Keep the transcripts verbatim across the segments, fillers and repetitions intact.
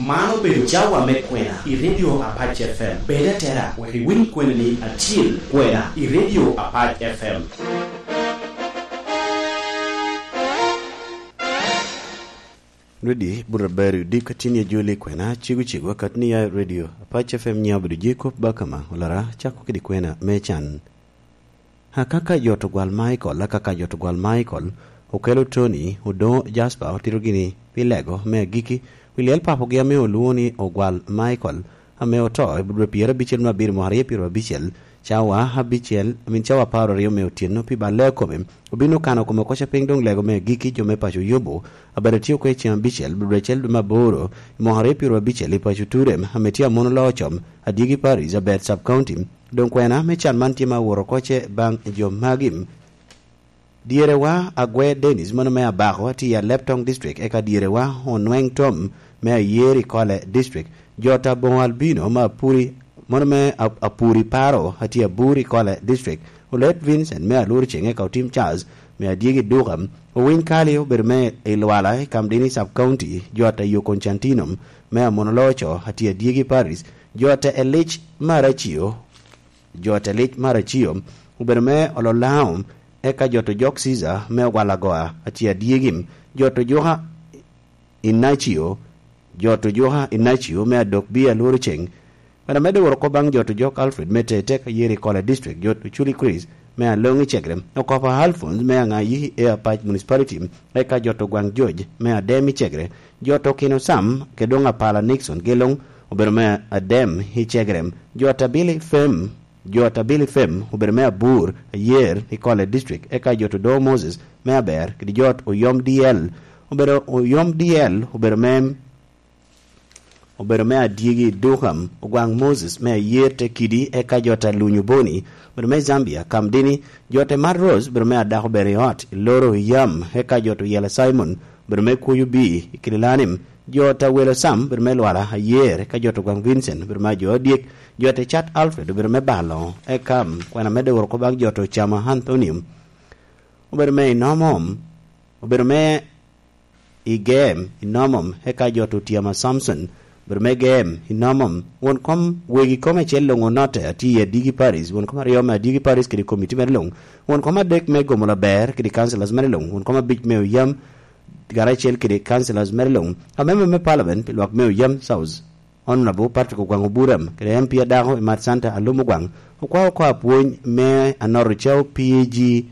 Man obedo cawa me kwena i Radio Apac F M. Bed atera wek iwiny kweni ni atyel kwena i Radio Apac F M. Rwedi, bura ber i odiko a tin i ajoli kwena, cego cego akat ni ya i Radio Apac F M. Nyiŋa obedo Jacob Bakama, olara cako kede kwena me can. Akaka jot ogwal Michael, akaka jot ogwal Michael, okelo Tony, Odoŋo Jasper, otito gini pi lego me agikki, pi lyel papogi ame olwoŋo ni ogwal Michael, ame oto i dwe pyerabicel me abiro mwaka aryo pyerabicel, cawa abicel, I mean, cawa apar aryo me otyeno pi balle a kome. Obin okano kome oko ca piny doŋ lego me agikki jo me paco Yubu, abet atye oko i ceŋ abicel, dwe acel dwe me aboro, i mwaka aryo pyerabicel i paco Turem, ame tye amono loo com, Adyegi Parish, Abet Sub County. Doŋ kwena me can man tye ma aworo oko ce baŋ jo magi. Dyerewa Agwe Dennis, mano me Abako, atye i Aleptong District, eka dyerewa Onweng Tom, me Ayer i Kole District. Jot Aboŋo Albino, me Apuri, mano me Ap-, Apuri Paro, atye Abur i Kole District. Olet Vincent, me Alur Ceŋ, eka Otim Charles, me Adyegi Duka. Owiny Kali obedo me i Lwala, i Kamdini Sub County. Jot Ayo Constantino, me Amono Loco, atye Adyegi Parish. Jot Elic Maracio, Jot Elic Maracio, obedo me Ololao, eka jot Ojok Caesar, me Ogwal Agoa, atye Adyegi. Jot Ojuka Inacio, jot Ojuka Inacio, me Adok Bia Lworo Ceŋ. Bene amedde woro oko baŋ jot Ojok Alfred, me Tetek Ayeri Kola District, jot Oculi Chris, me Aloŋ i Cegre, Okopa Alphonse, me Aŋayi e Apac Municipality, eka jot Ogwaŋ George, me Adem i Cegre, jot Okino Sam, kede doŋ Apala Nixon, Gelong, obedo me Adem i Cegre, jot Abili Fem, Jot Abili Fem obedo me Abur, Ayer, i Kole District, eka jot Odoŋo Moses me Aber, kede jot Oyom D L, obedo Oyom D L, obedo me, obedo me Adyegi Duham, Ogwaŋ Moses me Ayer te Kidi, eka jot Alunyu Boni, obedo me Zambia, Kamdini, jot Emat Rose, obedo me Adako Bere i Ot, i Loro i Yam, eka jot Oyela Simon, obedo me Kuyu B, i Kililanim, jot Awelo Sam, obedo me Lwala, Ayer, eka jot Ogwaŋ Vincent, obedo me Ajo Adyek, Jot Icat Alfred obedo me balo, eka kwena medde woro oko baŋ jot Ocamo Anthony, obedo me Inomom, obedo me Igem Inomom, eka jot Otyama Samson, obedo me Gem Inomom. Won kom, wegi kom acel luŋ onotte, atye i Adigi Paris, won kom aryo me Adigi Paris kede komiti mere luŋ, won kom adek me Gomo Laber kede councillors mere luŋ, won kom abic me Oyam, karacel kede councillors mere luŋ, amemba me parliament pi lwak me Oyam South, Honorable Patrick Ogwaŋ Oburam, kede M P adako Imat Santa Alum Ogwaŋ, okwao oko apwony me Anoro Cao P A G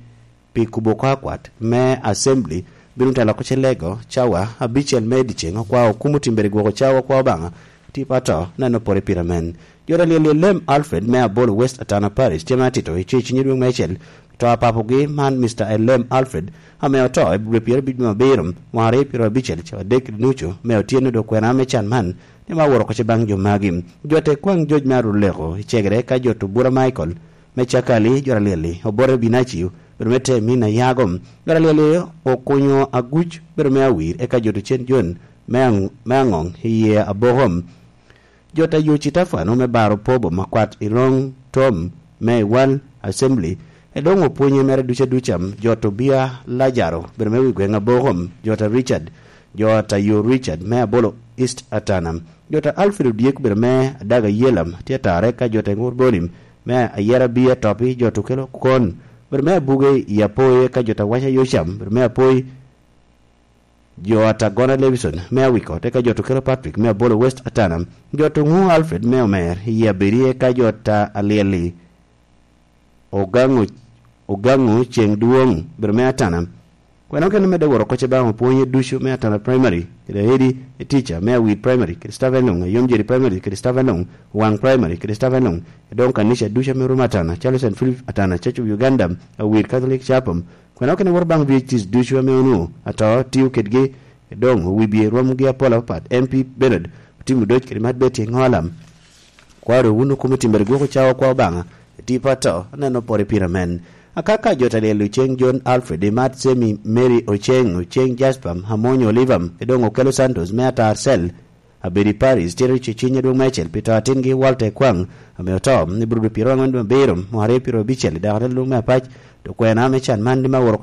pi kubo oko akwat me Assembly, bino telo oko ce lego cawa abicel me dyeceŋ, okwao okumo timbere gwoko cawa, okwao Obaŋa, tipo ato, neno pore pire men. Jot alyel i Lem Alfred me Abolo West Atana Parish, tye me atito, ico i cunye dweŋ me acel, to a papogi man, Mister Elem Alfred, ame oto i dwe pyerabicel me abiro, mwaka aryo pyerabicel, cawa adek nucu me otyeno, dok kwena me can man, ni ma woro oko ce baŋ jo magi. Jot Ekwaŋ Joc me Aruleko, i Cegere, ka jot Obura Michael, me Cakali, jot alyel-li, Obote Binacio, bedo me Temina Yago, jot alyel-li, Okunyo Aguc, bedo me Awir, eka jot Ocen Jon, me Aŋ-, me Aŋoŋ, iye Abokom. Jot Ayo Citafano me Baro Pobo Makwat i Roŋ Tom me Iwal Assembly, e doŋ opwonye mere duca duca, jot Obia Lajaro, bedo me wi gweŋ Abokom, jot a Richard, jot Ayo Richard me Abolo East Atana, jot a Alfred Odyek, bedo me Adaga Yelam, tye atare ka jot Eŋur Bolim me Ayera Bia Topi, jot Okelo Kon, bedo me Abuge i Apoye, ka jot Awaca Yocam, bedo me Apoy, Jot Agona Levison me Awiko, te ka jot Okelo Patrick me Abolo West Atana, jot Oŋu Alfred me Omer i Abedi, eka jot a Alyel-li Ogaŋo, Ogaŋo Ceŋ Dwoŋ, bedo me Atana. Kwena okene medde woro oko ce baŋ opwonye ducu me Atana Primary, kede Edi e Teacher me Awir Primary, kede Staff Enlong, Ayom Jeri Primary, kede Staff Enlong, Waŋ Primary, kede Staff Enlong, e doŋ kanica ducu ame rum Atana, calo Saint Philip Atana Church of Uganda, Awir Catholic Chapel, Kwena okene woro baŋ V H Ts ducu ame onwoŋo ato tio kedgi, doŋ owibye rwomgi apol apapat. M P Bernard Otim Odoc kede Mat Betty Ŋolam. Kwaro wun okumo timbere gwoko cawa kwa Obaŋa, tipo ato, aneno pore pire men. Akaka jot alyel Oceng John Alfred, Imat Semi Mary Oceng, Oceng Jasper, Amonyo Oliver, e doŋ Okelo Santos me Atar Cell, Abedi Paris, tito i ceciny adwoŋ me acel pi to atingi Walter Ekwaŋ, ame oto i Burudu pyero aŋwen dwe abiro, mwaka aryo pyero abicel, i dako te lung me apac, to kwena me can man lim aworo oko